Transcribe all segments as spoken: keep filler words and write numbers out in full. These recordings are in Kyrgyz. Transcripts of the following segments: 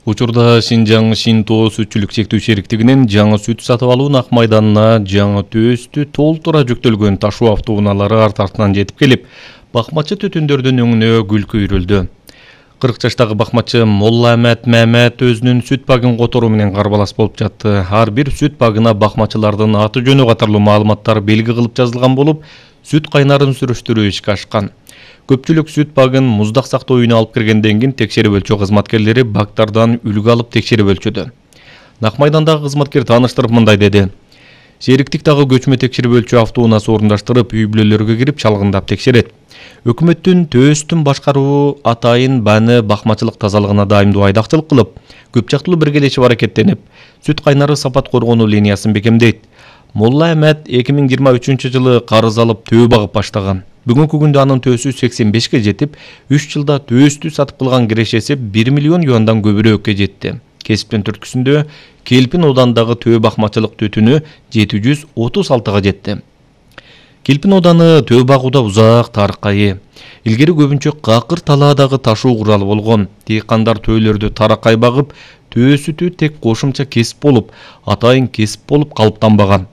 Учурда Шинжаң Шинто сүтчүлүк чектүү шериктигинин жаңы сүт сатып алуу Ак майданына жаңы төстү толтура жүктөлгөн ташуу автоунаалары арт артынан жетип келип, бакмачы түтүндөрдүн өңүнө гүл күйрүлдү. кырк жаштагы бакмачы Молла Амет Мамет өзүнүн сүт багын которуу менен карбалас болуп жатты. Ар бир сүт багына бакмачылардын аты жөнү катарлуу маалыматтар белги кылып жазылган болуп, сүт кайнарын сүрүштүрүү ишке ашкан. Көпчүлүк сүт багын муздак сактоо үйүнө алып киргенден кийин текшерип өлчөө кызматкерлери бактардан үлгү алып текшерип өлчөдү. Ак майдандагы кызматкер тааныштырып мындай деди: Шериктик дагы көчмө текшерип өлчөө автоунаасы орундаштырып, үй бүлөлөргө кирип чалгындап текшерет. Өкмөттүн төстүн башкаруу атайын баны бакмачылык тазалыгына дайымдуу айдакчылык кылып, көп жактылуу биргелешип аракеттенип, сүт кайнары сапат коргонуу линиясын бекемдейт. Молла Амет эки миң жыйырма үчүнчү жылы карыз алып төө багып баштаган. Бүгүнкү күндө анын төөсү сексен бешке жетип, үч жылда төөстү сатып кылган кирешеси бир миллион юандан көбүрөөккө жетти. Кесиптин түрткүсүндө Келпин оодандагы төө бакмачылык түтүнү жети жүз отуз алтыга жетти. Келпин ооданы төө багууда узак тарыхка ээ. Илгери көбүнчө какыр талаадагы ташуу куралы болгон. Дыйкандар төөлөрдү таракай багып, төө сүтү тек кошумча кесип болуп, атайын кесип болуп калыптанбаган.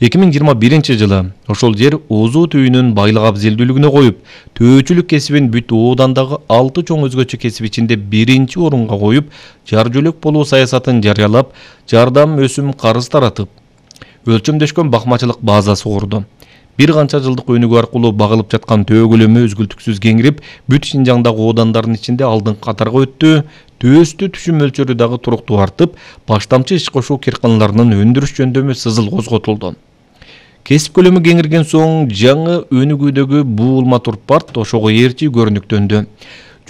эки миң жыйырма биринчи жылы ошол жер Озут үйүнүн байлык абзелдүүлүгүнө коюп, төөчүлүк кесибин бүт оодандагы алты чоң өзгөчө кесип ичинде биринчи орунга коюп, жар жөлөк болуу саясатын жарыялап, жардам өсүм карыз таратып, өлчөмдөшкөн бакмачылык базасы курду. Бир канча жылдык өнүгүү аркылуу багылып жаткан төө көлөмү үзгүлтүксүз кеңирип, бүт Шинжаңдагы оодандардын ичинде алдыңкы катарга өттү. Төөстү түшүм мөлчөрү дагы туруктуу артып, баштамчы иш кошуу кыйрканаларынын өндүрүш жөндөмү сызыл козготулду. Кесип көлөмү кеңирген соң жаңы өнүгүүдөгү буулма турпарт ошого ээрчи көрүнүктөндү.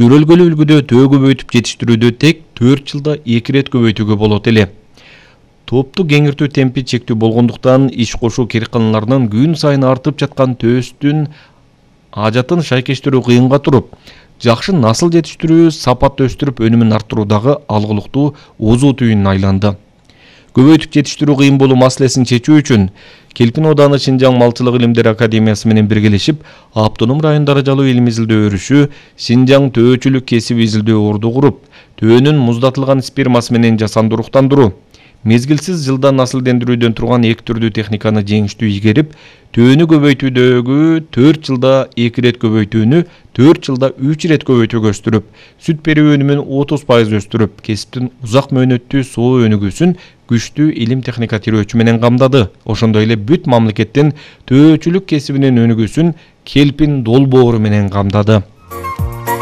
Жөрөлгөлүү үлгүдө төө көбөйтүп жетиштирүүдө тек төрт жылда эки ирет көбөйтүүгө болот эле. Топту кеңиртүү темпи чектүү болгондуктан иш кошуу кыйрканаларынын күн сайын артып жаткан төөстүн ажатын шайкештирүү кыйынга туруп, жакшы насыл жетиштирүү, сапат өстүрүп өнүмүн арттыруу дагы алгылыктуу Озут үйүнүн айланды. Көбөйтүп жетиштирүү кыйын болуу маселесин чечүү үчүн Келпин ооданы Шинжаң малчылык илимдери академиясы менен биргелешип, автоном район даражалуу илим изилдөө өрүшү Шинжаң төөчүлүк кесип изилдөө орду куруп, төөнүн муздатылган спермасы менен жасанды уруктандыруу, мезгилсиз жылдан насылдендирүүдөн турган эки түрдүү техниканы жеңиштүү ийгерип, төөнү көбөйтүүдөгү төрт жылда эки ирет көбөйтүүнү төрт жылда үч ирет көбөйтүүгө өстүрүп, сүт берүү өнүмүн отуз пайыз өстүрүп, кесиптин узак мөөнөттүү соо өнүгүүсүн күчтүү илим техника тирөөчү менен камдады. Ошондой эле бүт мамлекеттин төөчүлүк кесибинин өнүгүүсүн Келпин долбоору менен камдады.